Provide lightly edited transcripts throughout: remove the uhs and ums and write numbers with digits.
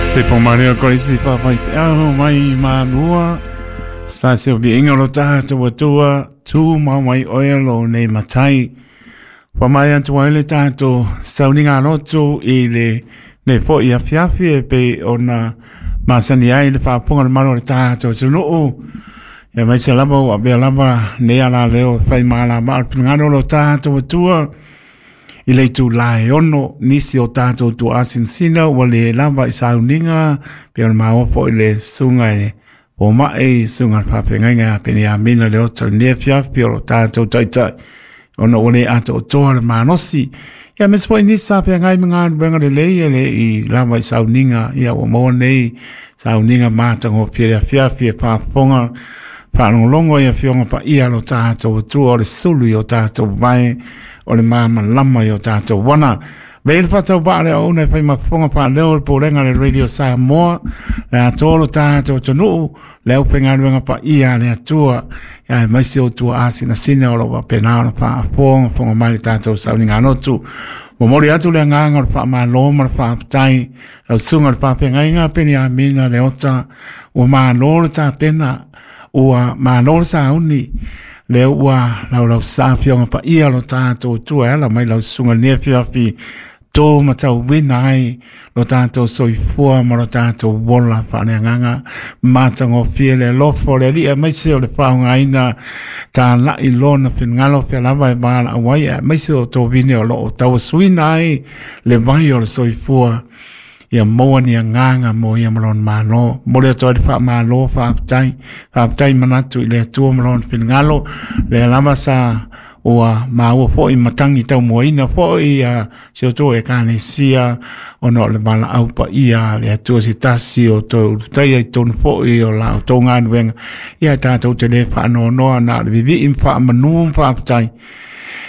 Se po mare o koisi pāpai peau mai mālua. Sa se o viinga lo tātou atua, tū mau mai oe lo nei matai. Wha mai atu ai le tātou sauniga lotu i le nei po i afiafi e pe o na masani ai le whaapunga le malo le tātou tunuu. E mai se lava ua bea lava nei ala leo whai māla maa pingano lo tātou atua. I le itulā e 6 nisi o tātou tuuasinasina ua lē lava i sauniga pei ona maua foʻi le susuga e fomaʻi susuga le faafeagaiga ia Peniamina Leota i lenei afiafi o lo tatou taitai ona ua lē atoatoa le malosi. Ia aemaise foi nisi sa feagai ma galuega lelei e le i lava i sauniga, ia ua maua nei sauniga matagofie le afiafi e faafofoga faalogologo i afioga paia a lo tatou Atua o le sulu i o tatou vae o le malamalama i o tatou wana. Vei le faatauvaa le auauna e fai ma fofoga faaleo o le Pulega a le Radio Samoa, le atoa o lo tatou atunuu, le aufaigaluega paia a le Atua, aemaise o tuaasinasina o lo o faapena ona faafogafoga mai le tatou sauniga lotu. Momoli atu le agaga o le faamalo ma le faafetai lau susuga i le faafeagaiga Peniamina Leota, ua malo le tapena, ua malo le sauni, lea ua laulausa afioga paia lo tatou Atua e ala mai lau susuga i lenei afiafi tō matauina ai lo tatou soifua ma lo tatou ola faaleagaga matagofie le alofa o le Alii aemaise o le faaaogaina tāla'i lona finagalo fea lava e valaau ai aemaise o tovine o loo tauasuina ai le vai o le soifua ia maua ni agaga mo ia ma lona Malo. Momoli atu ai le faamalo, faafetai, faafetai manatu i le Atua ma lona finagalo, lea lava sa ua maua foi matagi taumuaina foi ia si o outou Ekalesia ona o le valaau paia a le Atua se tasi o toe ulutaia i totonu foi o la outou galuega. Ia tatou te le faanoanoa na o le vivii ma faamanu ma faafetai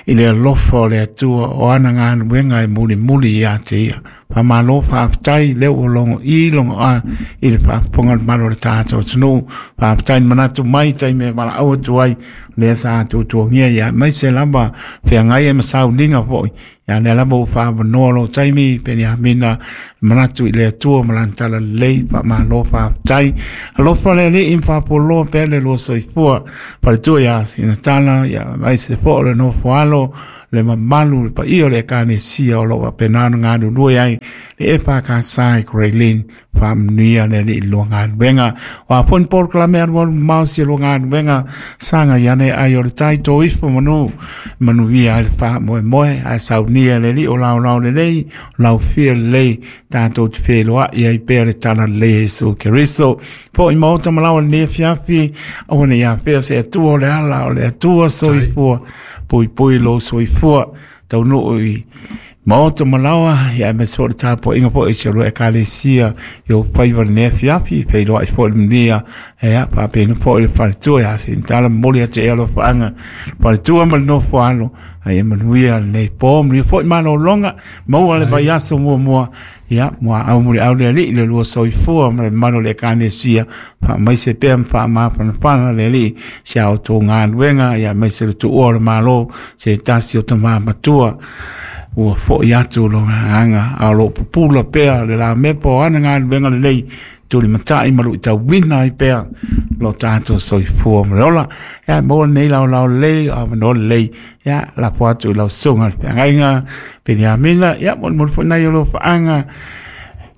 i le alofa o le Atua o ana galuega e mulimuli ia te ia. Faamalo faafetai lea ua logo i logo a i le faafofoga o le malo o le tatou atunuu. Faafetai le manatu mai taimi e valaau atu ai lea sa tuatuagia ia aemaise lava feagai ai ma sauniga foi. Ia lea lava ua faavanoa lou taimi Peniamina manatu i le Atua ma lana talalelei. Faamalo faafetai. Alofa le Alii ma faapualoa pea le lua soifua. Faletua ia Sinatala ia aemaise foi o le nofo alo le mamalu le paia o le Ekalesia o lo o faapena ona galulue ai le EFKS i Grey Lynn. Faamanuia le Alii i lua galuega. O a foi ni polokalame alualu mamao si lua galuega, sagai ane ai o le tai tō ifo manu, manuia ai le faamoemoe, ae saunia e le Alii o laolao lelei, o laufia lelei, tatou te feiloai ai pea le talalelei e Iesu Keriso. Foi maota ma laoa i lenei afiafi, aua ne i afea se Atua o le ala o le Atua soifua. Puipui lou soifua taunuu i maota ma laoa, ia aemaise foi o le tapuaiga foi i si o lua Ekalesia i ou faiva i lenei afiafi, feiloai foi le manuia, ia faapena foi le faletua ia Sinitala, momoli atu i alofaaga faletua ma le nofo alo, a ia manuia lenei po, manuia foi malologa, maua le vaiaso muamua. Ia, muaau muliau le Alii le lua soifua ma le mamalu o le Ekalesia, faamaise pea ma faamafanafana le Alii si a outou galuega, ia aemaise le tuua o le Malo, se tasi o tama matua ua foi atu lona agaga, a o lo o pupula pea le lamepa o ana galuega lelei, tulimatai ma luitauina ai pea lo tatou soifua ma le ola. Ia, maua lenei laolao lelei, avanoa lelei, ia, lafo atu i lau susuga i le feagaiga Peniamina, ia, molimoli foi nai o alofaaga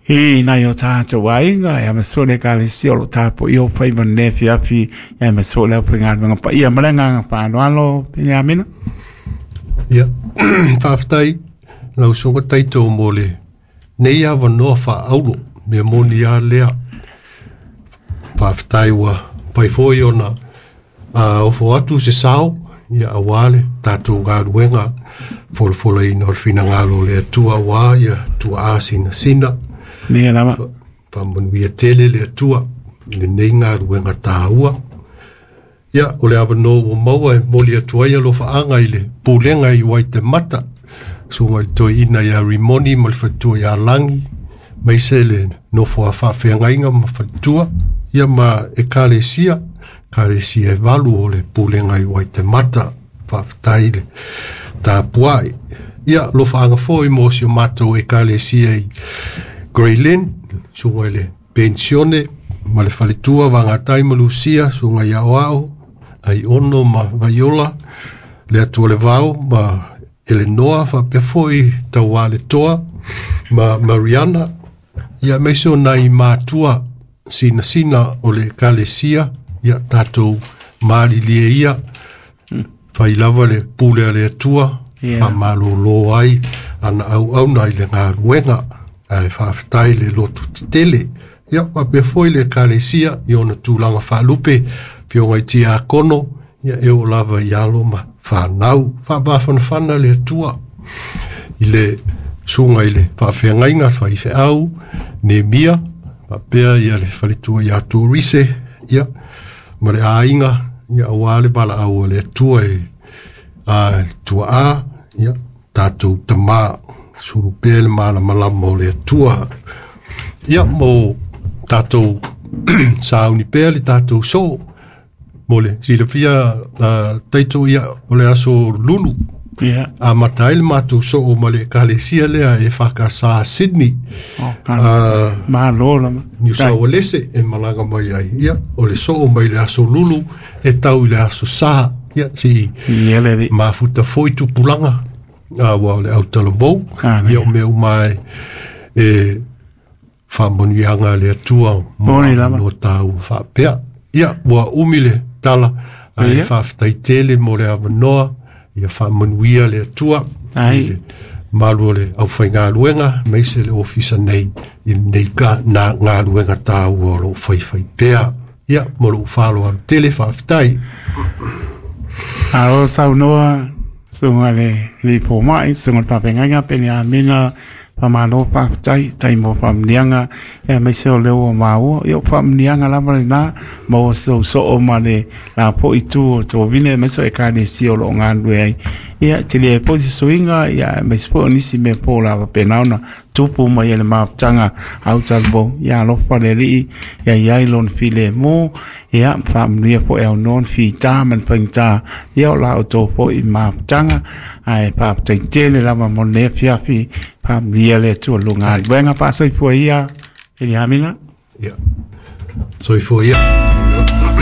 i nai o tatou aiga, ia, aemaise foi le Ekalesia o lo o tapuaia o faiva i lenei afiafi, ia, aemaise foi le aufaigaluega paia ma le agaga faaaloalo Peniamina. Ia, faafetai lau susuga Taito mo lenei avanoa faaauro, mea moni lava lea. Faafetai ua mafai foi ona ofo atu se sao ia aua le tatou galuega folafolaina o le finagalo o le Atua aua ia tuaa sinasina. Ia lava. Faamanuia tele le Atua i lenei galuega taua. Ia, o le avanoa ua maua e momoli atu ai alofaaga i le pulega i Waitemata, susuga i le toeaina ia Rimoni ma le faletua ia Lagi, aemaise le nofo a faafeagaiga ma faletua, ia ma Ekalesia, Ekalesia e 8 o le pulega i Waitemata. Faafetai le tapuai. Ia, alofaaga foi mo si o matou Ekalesia i Graylin, susuga i le Penisione ma le faletua Vagatai ma Lusia, susuga i Aoao, Aiono ma Vaiola, le Atualevao ma Elenoa, faapea foi Taualetoa ma Mariana, ia aemaise o nai matua sinasina o le Ekalesia, ia tatou malilie ia, fai lava le pule a le Atua, faamalolo ai ana auauna i le galuega, ae faafetai le loto tetele. Ia faapea foi le Ekalesia i ona tulaga faalupe, afioga i tiakono, ia e oo lava i alo ma fanau. Faamafanafana le Atua i le susuga i le faafeagaiga faifeau Nemia, faapea ia le faletua ia Torise, ia ma le aiga, ia aua le valaau a le Atua i le tuaa, ia tatou tamā, sulu pea le malamalama o le Atua. Ia mo tatou sauni pea le tatou soo, mo le silafia taito ia o le aso Lulu. Amata ai le matou soo ma le ekalesia lea e EFKS Sydney. Malo lava. Niu Saualese e malaga mai ai. Ia, o le soo mai le aso Lulu e tau i le aso Sa. Ia, se i mafuta foi tupulaga, aua o le autalavou. Ia, o mea uma e faamanuiaga a le Atua mo avanoa taua faapea. Ia, ua umi le tala, ae faafetai tele mo le avanoa, ia faamanuia le Atua i le malu o le aufaigaluega, aemaise le ofisa nei i lenei galuega taua o lo o faifai pea. Ia, mo lou faaaloalo tele, faafetai. Malo saunoa, susuga i le Alii Fomai, susuga i le Faafeagaiga Peniamina, faamalo faafetai, tai mo faamanuiaga, aemaise o lea ua maua. Ia o faamanuiaga lava lena, maua sou soo ma le la foi itu o Tovine, aemaise o Ekalesia o lo o galulue ai. Ia, tele ai foi se suiga, ia, aemaise foi o nisi mea fou o le a faapena ona tupu mai e le mafutaga autalavou. Ia alofa le Alii, ia i ai lona filemu, ia faamanuia foi aunoa ni fita ma ni faigata, ia o la outou foi mafutaga. Ae faafetai tele lava mo lenei afiafi, faamanuia le Atua i lou galuega faasoifua ia, Peniamina. Ia, soifua ia.